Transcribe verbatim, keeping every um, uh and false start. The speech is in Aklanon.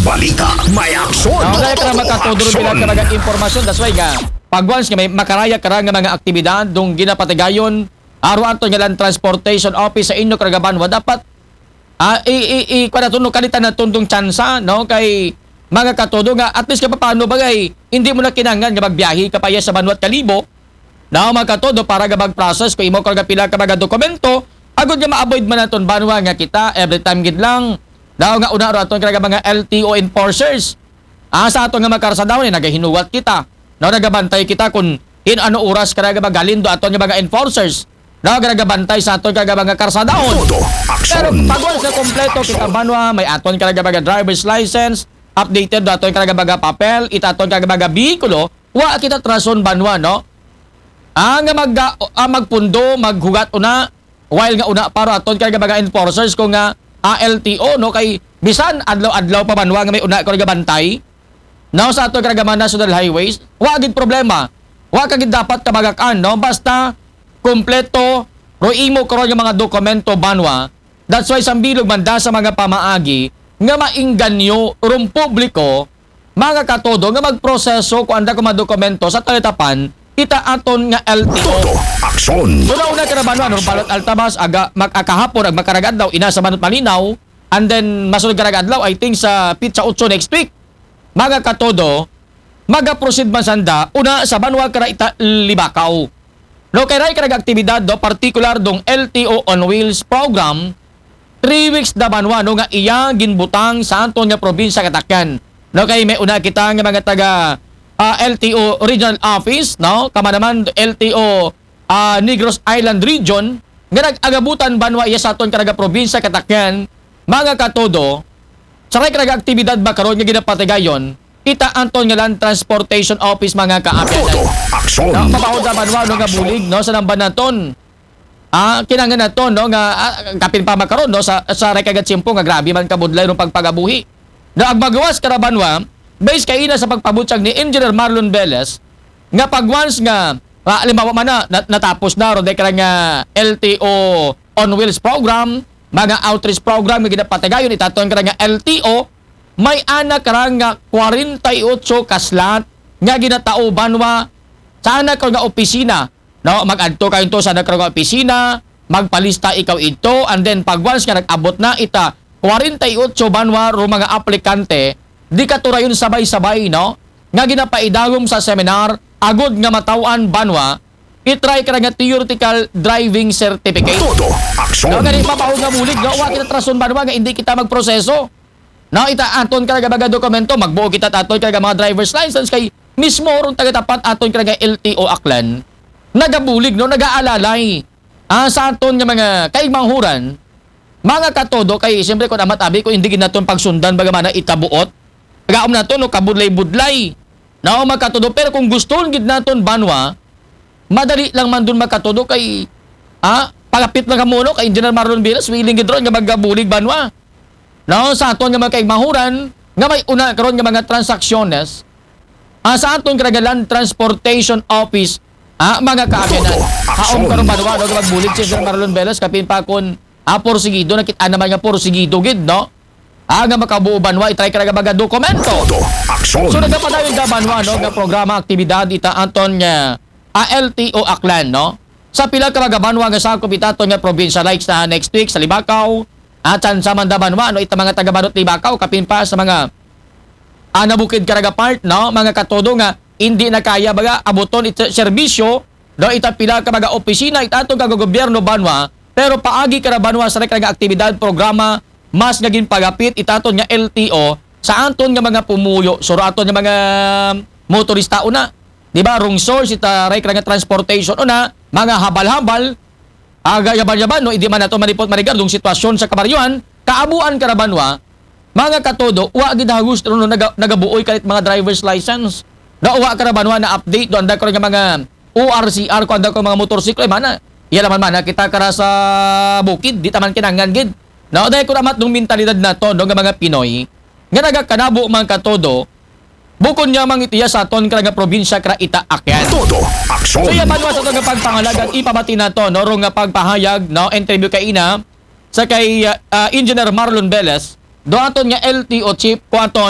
Balita, may aksyon. Now, dahil ka na makatudro bilang ka mga impormasyon, that's why nga, pag once nga may makaraya ka nga mga aktibidad, dong ginapatigayon, aro ato nga lang transportation office sa inyo karagabanwa, dapat, ah, i, i, i, kwa na to, no, kalitan na tundong tsansa, no, kay mga katudo nga, at least kapapano bagay, hindi mo na kinangan nga magbiyahe ka pa iya sa banwa at kalibo, no, mga katudo, para nga mag-process, kung imo ka nga pila ka mga dokumento, agod nga ma-avoid man naton banwa nga kita, every time gid lang, daw nga una ro aton ka nga mga L T O enforcers. Ah, sa ato nga mga karsadaw ni nagahinuwat kita. No, nagabantay kita kung in ano oras ka nga magaling do aton nga mga enforcers. No, nagabantay sa aton ka nga mga karsadaw. Todo Pero aksyon. pag once na kompleto kita banwa, may aton ka nga mga driver's license, updated do aton ka nga mga papel, ita aton ka nga mga bihikulo, wa kita trason banwa, no? Ah, nga mag, ah, magpundo, maghugat una, while nga una para aton ka nga mga enforcers ko nga A L T O, no, kay bisan adlaw-adlaw pa banwa nga may una ko nga bantay, no, sa aton ka mga national highways, wa gid problema. Wa ka gid dapat kabagakan, no, basta kompleto ro imo karon nga mga dokumento banwa. That's why sambilog man da sa mga pamaagi nga maingganyo rong publiko, mga katudo, nga magproseso ko anda ko mga dokumento sa talitapan ita aton nga L T O. Todo aksyon. So, nauna ka na ba, no? Anong balot altabas, aga, mag-, akahapon, ag makaragadlaw, ina sa Manot Malinaw, and then, masunod karagadlaw, I think, sa pitsa otso next week. Mga katudo, magaproceed man sanda, una sa banwa kara ita Libakaw. No, kay ray karag aktibidad do, partikular dong L T O on Wheels program, three weeks da banwa, no, nga iya ginbutang sa aton nga probinsya katakyan. No, kay may una kita nga mga taga, ah, L T O regional office, no, kama naman L T O, ah, Negros Island region, nga nag-agabutan banwa iya sa aton karaga probinsya katakyan, mga katudo, sa ray karaga aktibidad ba karon nga ginapatigayon, ita anton nga land transportation office, mga kaabyanan. Todo aksyon. Na mabahod na banwa, no, nga bulig, no, sa namban naton. Ah, kinangan nato, no, nga, ah, kapin pa makaron, no, sa, sa ray kagatsimpo nga grabe man kabudlay rong pagpagabuhi. No, agmagawas kara banwa, base kaina sa pagpabutyag ni Engineer Marlon Velez, nga pag once nga, ah, halimbawa man na, na- natapos na ro, dahil ka nga L T O on Wheels program, mga outreach program nga ginapatigayon itaton ka nga L T O, may anak ra nga kwarenta y otso ka slot nga ginatao banwa sa anak ra nga opisina, no? Mag-adto kayo to sa anak ra nga opisina, magpalista ikaw ito, and then pag once nga nag-abot na ita kwarenta y otso banwa ro mga aplikante, di ka to rayon sabay-sabay, no? Nga ginapaidagom sa seminar, agod nga matawan banwa, itry ka nga theoretical driving certificate. Todo aksyon. No, gani mabaho nga bulig, no? Wa kita trason banwa nga hindi kita magproseso. No, ita aton ka nga mga dokumento, magbuo kita aton ka nga mga driver's license kay mismo rong taga-tapat aton ka nga L T O Aklan. Nagabulig, no, nagaalalay. Ah, sa aton nga mga kaigmanghuran, mga katodo kay siyempre kung amat abi ko hindi gid naton pagsundan bagamana itabuot. Pagaom nato, no, kabudlay-budlay. No, mga katodo, pero kung gusto gid naton banwa, madali lang man dun, mga katodo, kay, ah, pagapit lang kamo, no, kay Engineer Marlon Vilas, willing gid ron nga magabulig banwa. No, sa aton nga mga kaigmahuran, nga may una karon nga mga transaksyones, ah, sa aton karagalan transportation office, ah, mga kaabyanan. Todo aksyon. Haom karon banwa, no, nga magbulig si Engineer Marlon Vilas, kapin pa kun, ah, porsigido, nakita naman nga porsigido gid, no? Ah, nga makabuo banwa, itry ka nga mga dokumento. Todo aksyon. So, nagapadayon da banwa, no, nga programa, aktibidad, ita anton nga, ah, L T O Aklan, no? Sa pila ka mga banwa nga sakop itaton nga probinsya, like sa next week, sa Libakaw, at sa, sa Mandabanwa, no, ita mga taga Manot Libakaw, kapin pa sa mga, ah, nabukid karaga part, no, mga katodo nga, hindi na kaya baga abuton ita serbisyo, no, ita pila ka mga opisina, ita atong kagogobyerno banwa, pero paagi kara banwa sa karaga aktibidad, programa, mas nga ginpagapit itaton nga L T O sa aton nga mga pumuyo, suro aton nga mga motorista una. Di ba? Rong source ita ray kara nga transportation una, mga habal-habal, aga yaban-yaban, no, hindi man nato malipot marigar dong sitwasyon sa kabaryuhan, kaabuan kara banwa, mga katodo, wa gid hagus no, naga, nagabuoy kalit mga driver's license. No, wa kara banwa na update do anda ko nga mga O R C R ko anda ko mga motorsiklo, eh, mana. Iya naman mana kita kara sa bukid, di taman kinangan gid. No, dahil ko amat dong mentalidad nato, no, nga mga Pinoy, nga nagakanabo, mga katodo, bukon niya mang itiya sa aton kara nga probinsya kara ita akyan. Todo aksyon. So, iya banwa sa aton nga pagpangalaga, ipabati nato, no, rong nga pagpahayag, no, interview kaina sa kay, ah, ah, Engineer Marlon Velez, do aton nga L T O chief, ko aton